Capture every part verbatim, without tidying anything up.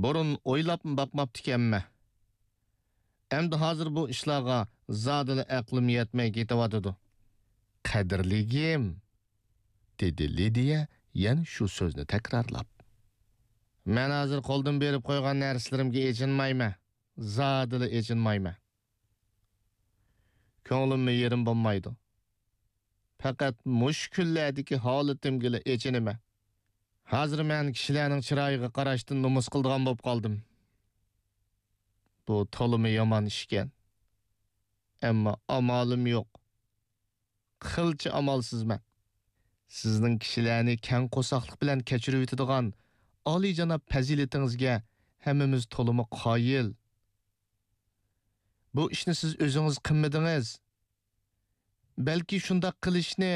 بۇرۇن ئويلاپمۇ باقماپتىكەنمەن. ئەمدى ھازىر بۇ ئىشلارغا زادىلا ئەقلىم يەتمەي كېتىۋاتىدۇ. قەدىرلىكىم، دېدى لىدىيە يەنە شۇ سۆزنى تەكرارلاپ. مەن ھازىر قولدىن بېرىپ قويغان نەرسىلىرىمگە ئېچىنمايمەن، زادىلا ئېچىنمايمەن. كۆڭلۈممۇ يېرىم بولمايدۇ. پەقەت مۇشۇ كۈنلەردىكى ھالىتىمگىلا ئېچىنىمەن. ھازىر مەن كىشىلەرنىڭ چىرايىغا قاراشتىن نومۇس قىلىدىغان بولۇپ قالدىم. بۇ تولىمۇ يامان ئىشكەن. ئەمما ئامالىم يوق. قىلچە ئامالسىزمەن. سىزنىڭ كىشىلەرنى كەڭ قورساقلىق بىلەن كەچۈرۈۋېتىدىغان ئالىيجاناب پەزىلىتىڭىزگە ھەممىمىز تولىمۇ قايىل. بۇ ئىشنى سىز ئۆزىڭىز قىلمىدىڭىز. بەلكى شۇنداق قىلىشنى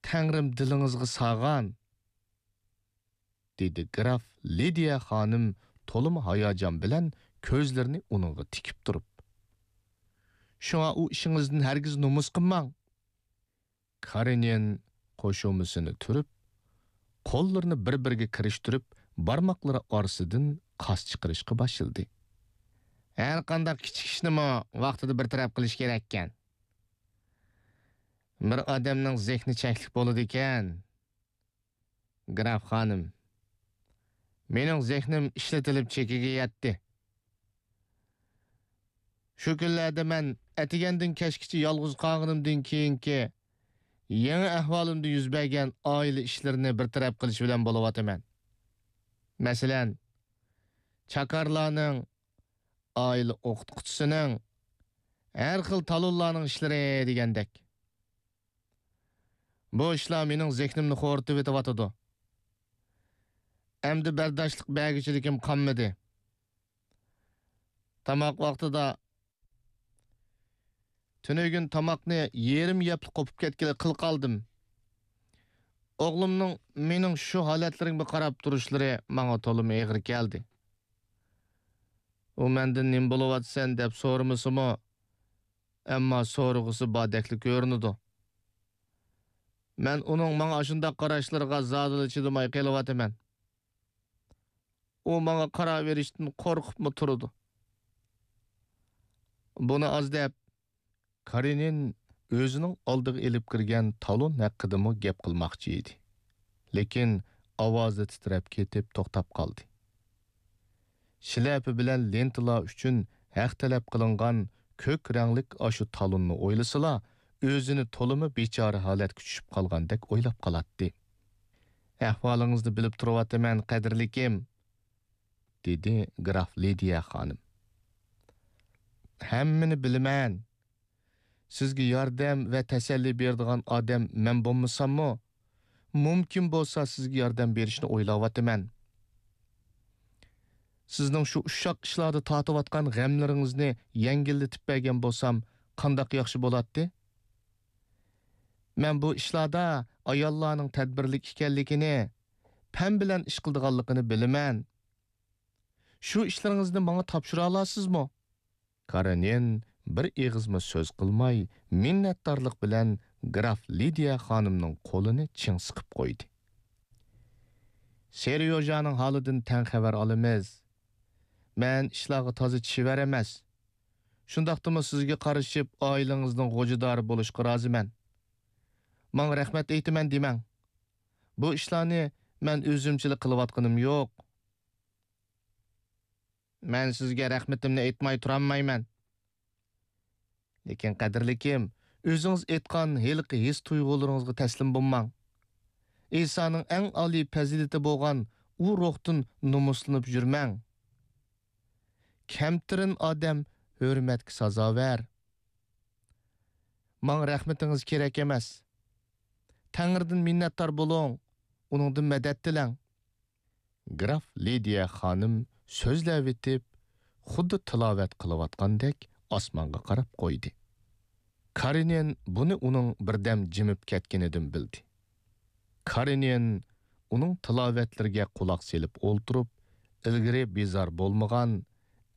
تەڭرىم دىلىڭىزغا سالغان، دېدى گراف لىدىيە خانىم تولىمۇ ھاياجان بىلەن كۆزلىرىنى ئۇنىڭغا تىكىپ تۇرۇپ. شۇڭا ئۇ ئىشىڭىزدىن ھەرگىز نومۇس قىلماڭ. كارېنىن قوشۇمىسىنى تۈرۈپ، قوللىرىنى بىر-بىرىگە كىرىشتۈرۈپ، بارماقلىرى ئارىسىدىن قاس چىقىرىشقا باشلىدى. ھەر قانداق كىچىك ئىشنىمۇ ۋاقتىدا بىر تەرەپ قىلىش كېرەككەن. بىر ئادەمنىڭ زېھنى چەكلىك بولىدىكەن. گراف خانىم، مېنىڭ زېھنىم ئىشلىتىلىپ چېكىگە يەتتى. شۇ كۈنلەردە مەن ئەتىگەندىن كەچكىچە يالغۇز قالغىنىمدىن كېيىنكى يېڭى ئەھۋالىمدا يۈز بەرگەن ئائىلە ئىشلىرىنى بىر تەرەپ قىلىش بىلەن بولۇۋاتىمەن. مەسىلەن، چاكارلارنىڭ، ئائىلە ئوقۇتقۇچىسىنىڭ، ھەر خىل تالونلارنىڭ ئىشلىرى دېگەندەك. بۇ ئىشلار مېنىڭ زېھنىمنى خورىتىۋېتىۋاتىدۇ. ئەمدى بەرداشلىق بەرگۈچىلىكىم قالمىدى. تاماق ۋاقتىدا تۈنۈگۈن تاماقنى يېرىم يەپلا قوپۇپ كەتكىلى قىل قالدىم. ئوغلۇمنىڭ مېنىڭ شۇ ھالەتلىرىمگە قاراپ تۇرۇشلىرى ماڭا تولىمۇ ئېغىر كەلدى. ئۇ مەندىن نېمە بولۇۋاتىسەن دەپ سورىمىسىمۇ، ئەمما سورىغۇسى باردەكلا كۆرۈنىدۇ. مەن ئۇنىڭ ماڭا ئاشۇنداق قاراشلىرىغا زادىلا چىدىماي قېلىۋاتىمەن. ئۇ ماڭا قاراۋېرىشتىن قورقۇپمۇ تۇرىدۇ. بۇنى ئاز دەپ، كارېنىن ئۆزىنىڭ ئالدىغا ئېلىپ كىرگەن تالون ھەققىدىمۇ گەپ قىلماقچى ئىدى. لېكىن ئاۋازى تىترەپ كېتىپ توختاپ قالدى. شىلەپە بىلەن لېنتىلار ئۈچۈن ھەق تەلەپ قىلىنغان كۆك رەڭلىك ئاشۇ تالوننى ئويلىسىلا، ئۆزىنى تولىمۇ بىچارە ھالەتكە چۈشۈپ قالغاندەك ئويلاپ قالاتتى. ئەھۋالىڭىزنى بىلىپ تۇرۇۋاتىمەن، قەدىرلىكىم، دېدى گراف لىدىيە خانىم. ھەممىنى بىلىمەن. سىزگە ياردەم ۋە تەسەللى بېرىدىغان ئادەم مەن بولمىساممۇ، مۇمكىن بولسا سىزگە ياردەم بېرىشنى ئويلاۋاتىمەن. سىزنىڭ شۇ ئۇششاق ئىشلاردا تارتىۋاتقان غەملىرىڭىزنى يەڭگىللىتىپ بەرگەن بولسام قانداق ياخشى بولاتتى. مەن بۇ ئىشلاردا ئاياللارنىڭ تەدبىرلىك ئىكەنلىكىنى، پەم بىلەن ئىش قىلىدىغانلىقىنى بىلىمەن. شۇ ئىشلىرىڭىزنى ماڭا تاپشۇرالارسىزمۇ؟ كارېنىن بىر ئېغىزمۇ سۆز قىلماي، مىننەتدارلىق بىلەن گراف لىدىيە خانىمنىڭ قولىنى چىڭ سىقىپ قويدى. سېريوژانىڭ ھالىدىن تەڭ خەۋەر ئالىمىز. مەن ئىشلارغا تازا چېۋەر ئەمەس. شۇنداقتىمۇ سىزگە قارىشىپ، ئائىلىڭىزنىڭ غوجىدارى بولۇشقا رازىمەن. ماڭا رەھمەت ئېيتىمەن دېمەڭ. بۇ ئىشلارنى مەن ئۆزۈمچىلا قىلىۋاتقىنىم يوق. مەن سىزگە رەھمىتىمنى ئېيتماي تۇرالمايمەن. لېكىن، قەدىرلىكىم، ئۆزىڭىز ئېيتقان ھېلىقى ھېس-تۇيغۇلىرىڭىزغا تەسلىم بولماڭ. ئىسانىڭ ئەڭ ئالىي پەزىلىتى بولغان ئۇ روھتىن نومۇسلىنىپ يۈرمەڭ. كەمتىرىن ئادەم ھۆرمەتكە سازاۋەر. ماڭا رەھمىتىڭىز كېرەك ئەمەس. تەڭرىدىن مىننەتدار بولۇڭ، ئۇنىڭدىن مەدەت تىلەڭ. گراف لىدىيە خانىم سۆزلەۋېتىپ، خۇددى تىلاۋەت قىلىۋاتقاندەك ئاسمانغا قاراپ قويدى. كارېنىن بۇنى ئۇنىڭ بىردەم جىمىپ كەتكىنىدىن بىلدى. كارېنىن ئۇنىڭ تىلاۋەتلىرىگە قۇلاق سېلىپ ئولتۇرۇپ، ئىلگىرى بىزار بولمىغان،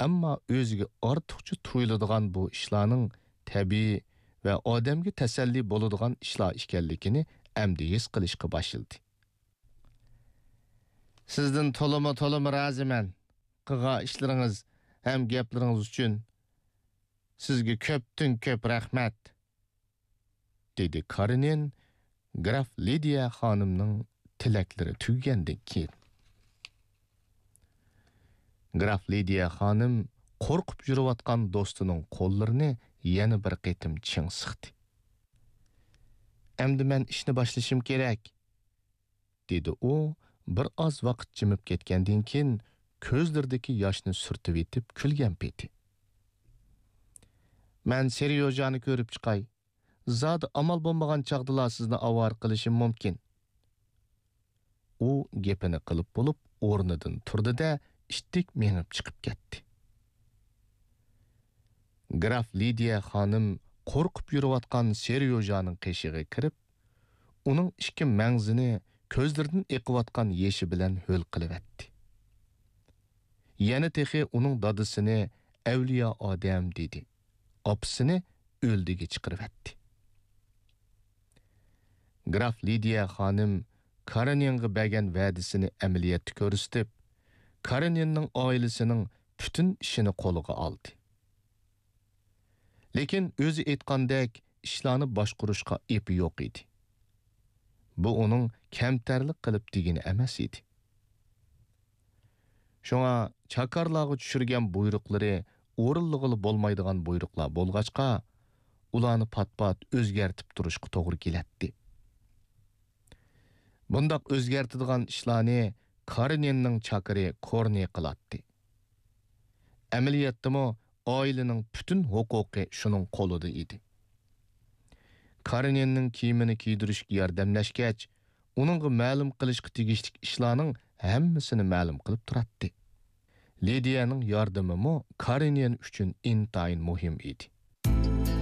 ئەمما ئۆزىگە ئارتۇقچە تۇيۇلىدىغان بۇ ئىشلارنىڭ تەبىئىي ۋە ئادەمگە تەسەللى بولىدىغان ئىشلار ئىكەنلىكىنى ئەمدى ھېس قىلىشقا باشلىدى. سىزدىن تولىمۇ، تولىمۇ رازىمەن. قىلغان ئىشلىرىڭىز ھەم گەپلىرىڭىز ئۈچۈن سىزگە كۆپتىن كۆپ رەھمەت، دېدى كارېنىن گراف لىدىيە خانىمنىڭ تىلەكلىرى تۈگىگەندىن كېيىن. گراف لىدىيە خانىم قورقۇپ يۈرۈۋاتقان دوستىنىڭ قوللىرىنى يەنە بىر قېتىم چىڭ سىقتى. ئەمدى مەن ئىشنى باشلىشىم كېرەك، دېدى ئۇ بىر ئاز ۋاقىت جىمىپ كەتكەندىن كېيىن كۆزلىرىدىكى ياشنى سۈرتۈۋېتىپ كۈلگەن پېتى. مەن سېريوژانى كۆرۈپ چىقاي. زادى ئامال بولمىغان چاغدىلا سىزنى ئاۋارە قىلىشىم مۇمكىن. ئۇ گېپىنى قىلىپ بولۇپ ئورنىدىن تۇردى-دە، ئىتتىك مېڭىپ چىقىپ كەتتى. گراف لىدىيە خانىم قورقۇپ يۈرۈۋاتقان سېريوژانىڭ قېشىغا كىرىپ، ئۇنىڭ ئىككى مەڭزىنى كۆزلىرىدىن ئېقىۋاتقان يېشى بىلەن ھۆل قىلىۋەتتى. يەنە تېخى ئۇنىڭ دادىسىنى ئەۋلىيا ئادەم دېدى، ئاپىسىنى ئۆلدىگە چىقىرىۋەتتى. گراف لىدىيە خانىم كارېنىنغا بەرگەن ۋەدىسىنى ئەمەلىيەتتە كۆرسىتىپ، كارېنىننىڭ ئائىلىسىنىڭ پۈتۈن ئىشىنى قولىغا ئالدى. لېكىن ئۆزى ئېيتقاندەك ئىشلارنى باشقۇرۇشقا ئېپى يوق ئىدى. بۇ ئۇنىڭ كەمتەرلىك قىلىپ دېگىنى ئەمەس ئىدى. شۇڭا چاكارلارغا چۈشۈرگەن بۇيرۇقلىرى ئورۇنلىغىلى بولمايدىغان بۇيرۇقلار بولغاچقا، ئۇلارنى پات-پات ئۆزگەرتىپ تۇرۇشقا توغرا كېلەتتى. بۇنداق ئۆزگەرتىدىغان ئىشلارنى كارېنىننىڭ چاكىرى كورنى قىلاتتى. ئەمەلىيەتتىمۇ ئائىلىنىڭ پۈتۈن ھوقۇقى شۇنىڭ قولىدا ئىدى. كارېنىننىڭ كىيىمىنى كىيدۈرۈشكە ياردەملەشكەچ، ئۇنىڭغا مەلۇم قىلىشقا تېگىشلىك ئىشلارنىڭ ھەممىسىنى مەلۇم قىلىپ تۇراتتى. لىدىيەنىڭ ياردىمىمۇ كارېنىن ئۈچۈن ئىنتايىن مۇھىم ئىدى.